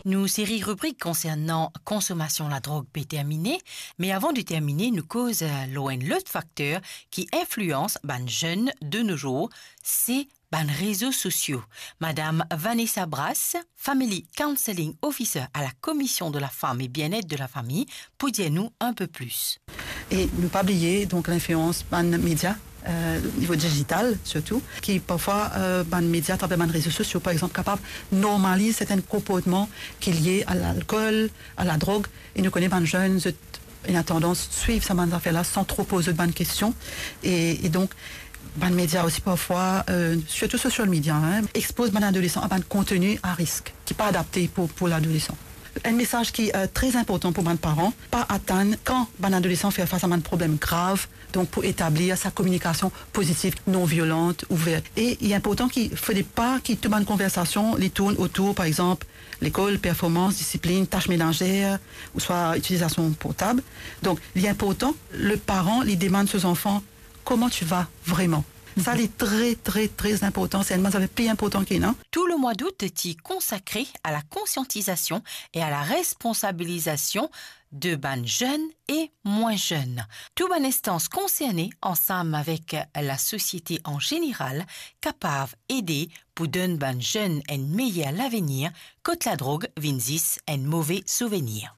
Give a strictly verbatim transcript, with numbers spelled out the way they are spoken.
Nou seri ribrik konsernan konsomasion ladrog pe termine, me avan de termine, nou koz, eh, lor enn lot fakter ki inflians bann zenn de nos jours, se bann rezo sosio. Madam Vanessa Brass, Family Counselling Officer à la Commission de la Femme et Bien-être de la Famille, pou dir nou un peu plus. E nou pa bliye, donk, linflians bann media, eh, nivo digital sirtou, ki parfwa, eh, bann media atraver bann rezo sosio, par exanp, kapav normaliz sertin konportman ki lie a lalkol, a ladrog, e nou kone bann zenn, zot ena tandans swiv sa bann zafer la san tro poz zot bann kestion, e, e donk, bann media osi parfwa, eh, sirtou social media, hein, expoz bann adolesan a bann konteni a risk, ki pa adapte pou, pou ladolesan. Enn mesaz ki, eh, tre inportan pou bann paran, pa atann kan bann adolesan fer fas a bann problem grav, donk pou etablir sa kominikasion pozitiv, non violant, ouver. E li inportan ki, fode pa ki tou bann konversasion, li tourn otour, par exanp, lekol, performans, disiplin, tas menazer, ouswa itilizasion portab. Donk, li inportan, le paran, li demann so zanfan, "Comment tu vas vraiment?" Sa, li tre, tre, tre inportan. Se enn bann zafer pli inportan ki ena. Tout le mois d'août est consacré à la conscientisation et à la responsabilisation de bann zenn e mwin zenn. Tou bann instans konserne, ansam avek lasosiete an zeneral, kapav ede pou donn bann zenn enn meyer lavenir, kot ladrog vinn zis enn move souvenir.